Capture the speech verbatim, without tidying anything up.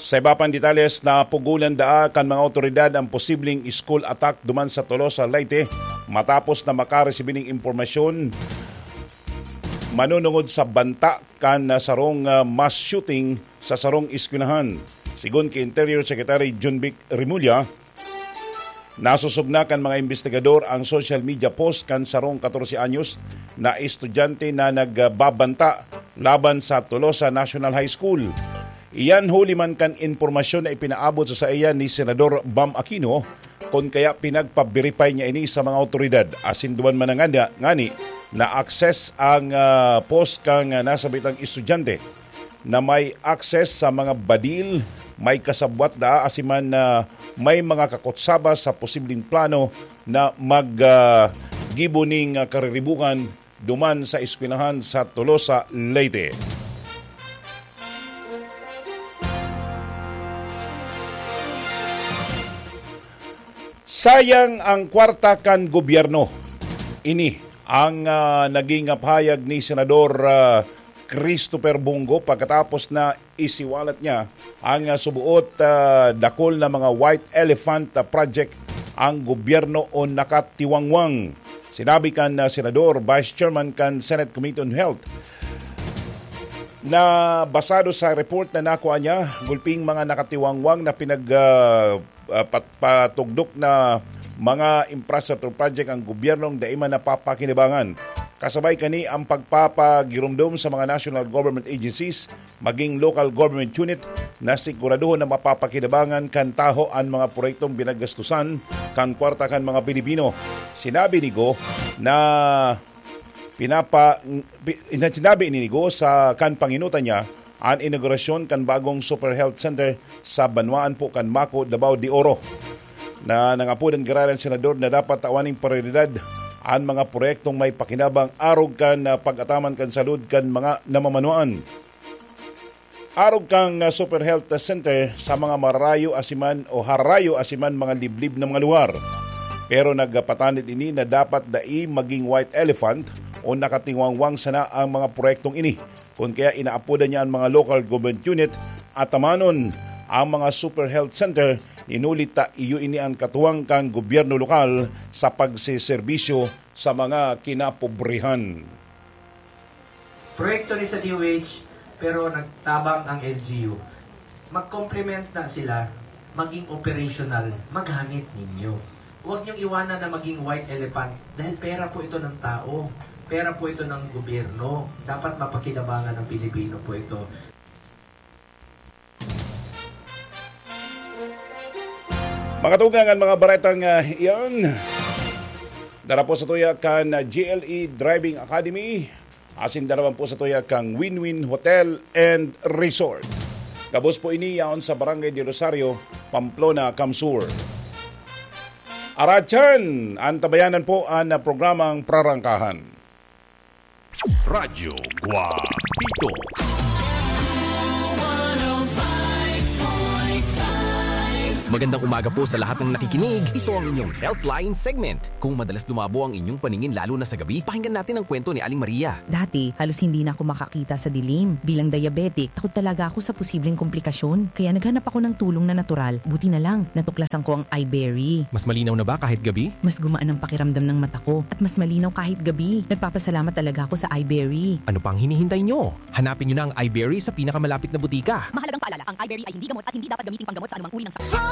Sa iba pang detalles, napugolan daa kan mga awtoridad ang posibleng school attack duman sa Tolosa, Leyte, matapos na makaresibi nin impormasyon manunungod sa banta kan, ah, sarong, ah, mass shooting sa sarong eskwelahan. Sigon ki Interior Secretary Jonvic Remulla, nasusog na kan mga imbestigador ang social media post kan sarong katorse anyos na estudyante na nagbabanta laban sa Tolosa National High School. Iyan huli man kan impormasyon na ipinaabot sa saiya ni Senador Bam Aquino, kun kaya pinagpa-verify niya ini sa mga awtoridad. Asin duman man na ngani, ngani na-access ang, ah, post kan, ah, nasabitang estudyante na may access sa mga badil, may kasabwat daa, asin man na may mga kakutsaba sa posibleng plano na mag, ah, gibo ning, ah, kariribukan duman sa eskwelahan sa Tolosa, Leyte. Sayang ang kwarta kan gobyerno. Ini ang, ah, naging pahayag ni Senador, ah, Christopher Bong Go pagkatapos na isiwalat niya ang, ah, subuot, ah, dakul na mga white elephant, ah, project ang gobyerno o nakatiwangwang. Sinabi kan, ah, Senador, Vice Chairman kan Senate Committee on Health, na basado sa report na nakuha niya, gulping mga nakatiwangwang na pinag, ah, ah, pat-, patugdok na mga infrastructure project ang gobyernong dai man napapakinabangan. Kasabay kani ang pagpapagiromdom sa mga national government agencies, maging local government unit, na siguraduhon na mapapakinabangan kan taho an mga proyektong binagastusan kan kwarta kan mga Pilipino. Sinabi ni Go na pinapa-, pi-, sinabi ni Go sa kan panginutan niya an inaugurasyon kan bagong Super Health Center sa banwaan po kan Maco, Davao de Oro, na nangapodan giraray an senador na dapat tawan ning prioridad an mga proyektong may pakinabang arog kan, ah, pag-ataman kan salud kan mga namamanwaan. Arog kan, ah, Super Health Center sa mga marayo asiman o harayo asiman mga liblib na mga lugar. Pero nagpatanid ini na dapat dai maging white elephant o nakatingwangwang sana ang mga proyektong ini. Kun kaya inaapodan niya an mga local government unit, atamanon ang mga Super Health Center, inuli ta iyo ini an katuwang kan gobyerno lokal sa pagseserbisyo sa mga kinapobrehan. Proyekto ni sa D O H, pero nagtabang ang L G U. Mag-complement na sila, maging operational, magamit ninyo. Huwag niyong iwanan na maging white elephant dahil pera po ito ng tao. Pera po ito ng gobyerno. Dapat mapakinabangan ng Pilipino po ito. Mga tugang, ang mga baretang, ah, iyan. Dara po sa tuya kan, ah, G L E Driving Academy. Asin dara man po sa tuya kan Win-Win Hotel and Resort. Gabos po ini yaon sa Barangay de Rosario, Pamplona, CamSur. Aratyan, antabayanan po an, ah, programang Prarangkahan. Radyo Guapito. Magandang umaga po sa lahat ng nakikinig. Ito ang inyong Healthline segment. Kung madalas dumabo ang inyong paningin lalo na sa gabi, pakinggan natin ang kwento ni Aling Maria. Dati, halos hindi na ako makakita sa dilim. Bilang diabetic, takot talaga ako sa posibleng komplikasyon. Kaya naghanap ako ng tulong na natural. Buti na lang, natuklasan ko ang iBerry. Mas malinaw na ba kahit gabi? Mas gumaan ang pakiramdam ng mata ko at mas malinaw kahit gabi. Nagpapasalamat talaga ako sa iBerry. Ano pang hinihintay nyo? Hanapin nyo na ang iBerry sa pinakamalapit na butika. Mahalagang paalala, ang iBerry ay hindi gamot at hindi dapat gamiting panggamot sa anumang uri ng sakit.